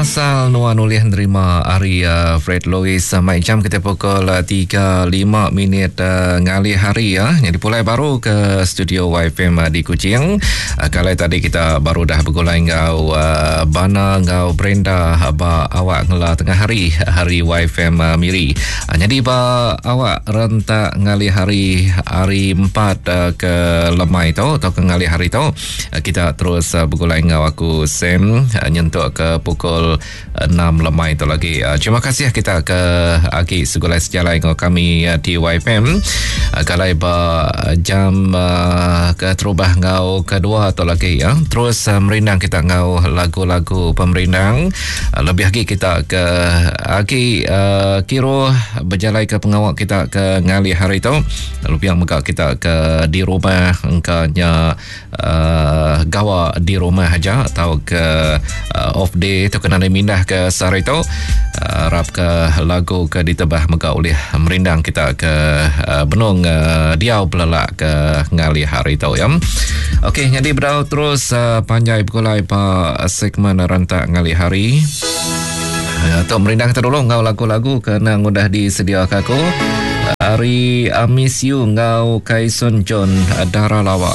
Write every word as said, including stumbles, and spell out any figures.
Asal nuan ulih nerima hari uh, Fred Lewis uh, mai jam kita pukul uh, tiga lima minit uh, ngalih hari ya. Jadi pulai baru ke studio Y F M uh, di Kuching. Uh, kalau tadi kita baru dah bergulai ngau uh, Bana ngau Brenda ba awak ngela tengah hari hari Y F M uh, Miri. Uh, jadi ba awak rentak ngalih hari hari empat uh, ke lemai tu atau ke ngalih hari tu uh, kita terus uh, bergulai ngau aku Sam uh, nyentuk ke pukul enam lemai itu lagi. Uh, terima kasih kita ke agi segulai sejalai dengan kami uh, di Y F M. Uh, kalau ba jam uh, ke terubah ngau kedua atau lagi ya. Terus uh, merindang kita ngau lagu-lagu pemerindang. Uh, lebih lagi kita ke agi uh, kiro berjalai ke pengawak kita ke ngalih hari itu. Lalu yang megak kita ke di rumah engkanya uh, gawa di rumah aja atau ke uh, off day itu kena mindah ke sehari itu. Uh, harap ke lagu ke ditebah megak oleh merindang kita ke uh, benung uh, diau belelak ke ngalih hari itu ya. Okey, jadi berau terus uh, panjai bergulai pa segmen rentak ngalih hari. Uh, tok merindang kita dulu ngau lagu-lagu kena ngudah disediakan aku. Hari I Miss You ngau Kaison John Dara Lawa.